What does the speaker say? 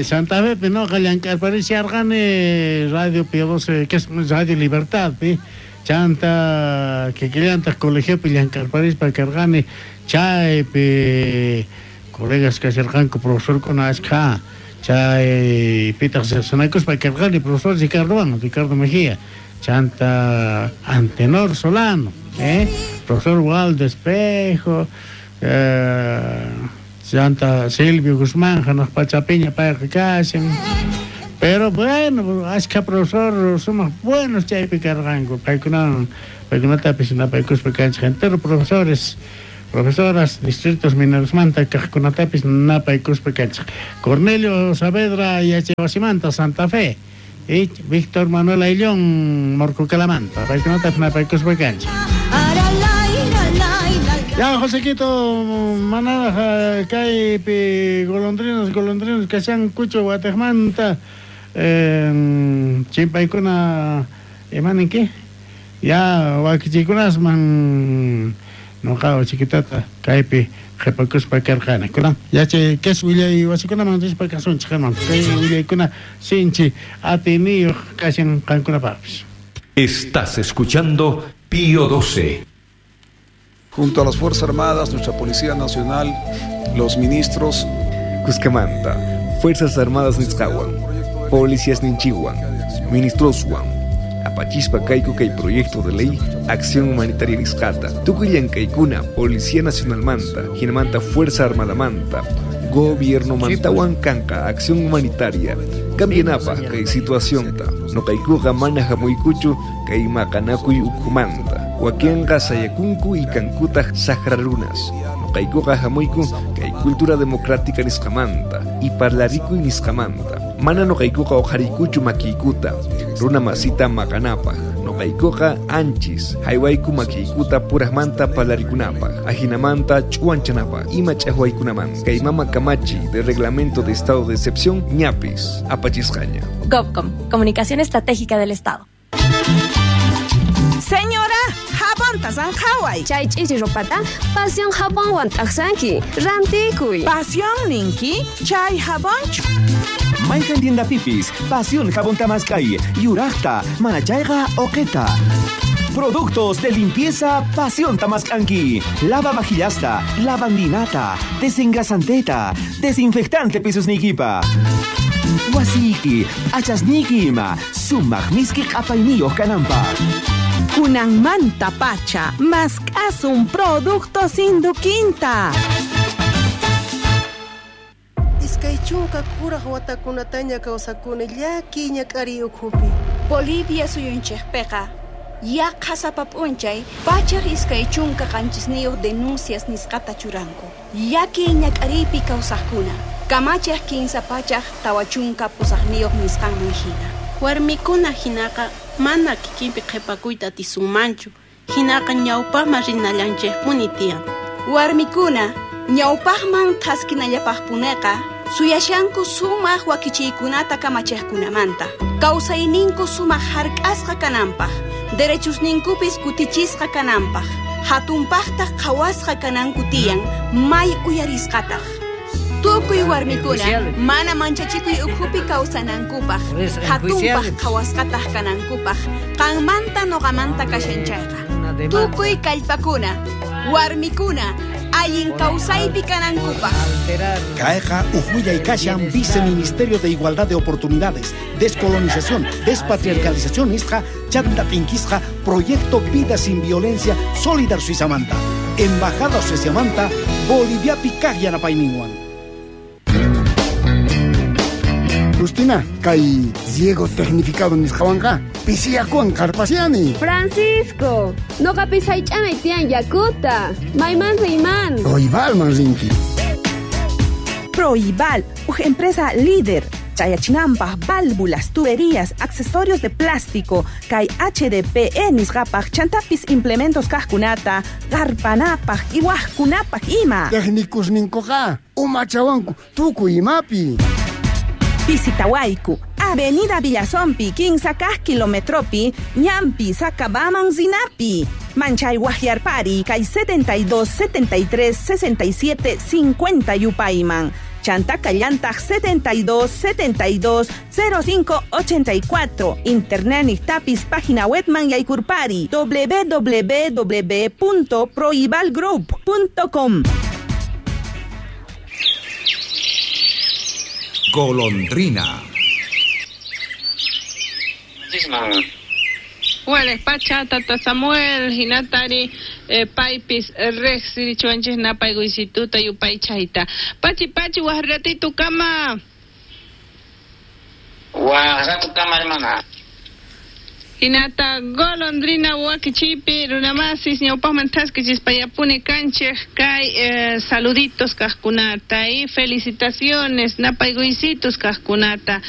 Santa Fepi noqa llank'arparisharqani Radio Pío 12, que es Radio Libertadpi, chanta kikillantaq colegiopi llank'arparispa karqani, chaypi colegas kasharqanku profesorkuna ashkha, chaypitaq riqsinakuspa karqani profesor Ricardowan, Ricardo Mejía, chanta Antenor Solano, profesor Waldo Espejo, chanta Silvio Guzmán, hanaq pachapiña payqa kashan. Pero bueno, ashkha profesor sumaq buenos chaypi karqanku, paykunawan paykunatapis napaykuspa kanchik entero profesores, profesoras distritos minerosmanta kaqkunatapis napaykuspa kanchik. Cornelio Saavedra yachaywasimanta Santa Fe y Víctor Manuel Ayllón Morcocalamanta, paykunatapis napaykuspa kanchik. Ya, Josequito, manaraj kaypi golondrinas, golondrinas kashankuchu watejmanta chimpaykuna imaninki? Ya, wakichikunasman noqa chiquitata kaypi qhipakuspa karqani. Kunan yachay kes willay wasikunaman rispa kasunchik, hermano. Kay willaykuna sinchi atiyniyuq kashan qankunapaqpis. Estás escuchando Pío 12. Junto a las Fuerzas Armadas, nuestra Policía Nacional, los ministros. Cuscamanta, Fuerzas Armadas nisqawan, Policías ninchiwan, ministroswan, apachispa kayku kay proyecto de ley Acción Humanitaria nisqata, tukuy llank'aykuna Policía Nacionalmanta, hinamanta Fuerza Armadamanta, Gobierno mantawan kanqa Acción Humanitaria, cambianapaj kay situacionta, noqaykuqa mana hamuykuchu kay maqanakuy ukhumanta, wakinqa sayakunku y kankutaq saqra runas, noqaykuqa hamuyku kay cultura democrática nisqamanta y parlarikuy nisqamanta, mana noqaykuqa uqhariykuchu makiykuta, runa masita maqanapaj, noqaykuqa anchis, haywayku makiykuta purajmanta parlarikunapaj, ajinamanta ch'uwanchanapaj, ima ch'ajwaykunamanta, kay mama kamachi de reglamento de estado de excepción ñapis, apachisqaña. Gobcom, Comunicación Estratégica del Estado. Señora, jabonta zanjaway. Chay ch'ichi ropata, Pasión jabonwan t'aqsanki. Rantikuy. Pasión ninki, chay jabonchu. Mayqan tiendapipis, Pasión jabón tamaskay, yuraqta, manachayqa oqeta. Productos de limpieza Pasión Tamascanqui. Lava vajillasta, lavandinata, desengrasanteta, desinfectante pisos nikipa. Wasiki, achasniki ima, sumaq miski q'apayniyuq kananpaq. Kunanmanta pacha, mask'asun productos Induquinta. Iskay chunka kuraj watakunataña kawsakuni llakiy ñak'ariy ukhupi. Bolivia suyunchikpiqa yaqha sapa p'unchay 127 denuncias nisqata churanku. Llakiy ñak'ariypi kawsaqkuna kamachiq 348 nisqanman hina. Warmikuna hinaqa mana kikinpi qhipakuyta atisunmanchu, hinaqa ñawpaqman rinallanchikpuni tiyan. Warmikuna ñawpaqman thaskinallapaqpuneqa suyashanku sumaq wakichiykunata kamachiqkunamanta, kawsayninku sumaq hark'asqa kananpaq, derechusninkupis kutichisqa kananpaq, hatunpaqtaq qhawasqa kananku tiyan, may uyarisqataq. Tukuy warmikuna mana manchachikuy ukhupi kawsanankupaq, hatunpaq qhawasqataq kanankupaq, qanmanta noqamanta kashan chayqa. Tukuy kallpakuna, warmikuna, allin kawsaypi kanankupaq. Kayqa uj willay kashan Viceministerio de Igualdad de Oportunidades, Descolonización, Despatriarcalización nisqa chanta tinkisqa Proyecto Vida Sin Violencia Solidar Suizamanta, Embajada Sueziamanta, Boliviapi kaq yanapayninwan. Justina, kay riego tecnificado nisqawanqa pisiyakuwan qarpasiani. Francisco, noqapis haych'anay tiyan yakuta. Mayman riyman. Proibalman rinki. Proibal, uj empresa líder. Chayachinampaj, válvulas, tuberías, accesorios de plástico, kay HDPE nisqapaj, chantapis implementos kajkunata, qarpanapaj, iwajkunapaj ima. Técnicos ninkuqa, umachawanku, tukuy imapi. Visitawayku, Avenida Villazompi, 15 kilometropi, Ñampi, Sacabaman, Zinapi. Manchay Guajiarpari, kay 72, 73, 67, 50 Yupayman. Chanta kallantaq 72 72 05 84. Internet niqtapis página webman yaykurpari www.proibalgroup.com. Golondrina. Wales pacha tata Samuel hinatari paypis riqsirichuanchis napaykuysituta yupaychayta. Pachi pachi waq kama. Waq kama hermana. Hinata golondrina wakichipi runamasis ñawpaqman thaskichispayapuni kanchej kay saluditos kajkunata y felicitaciones napaykuysitus kajkunata.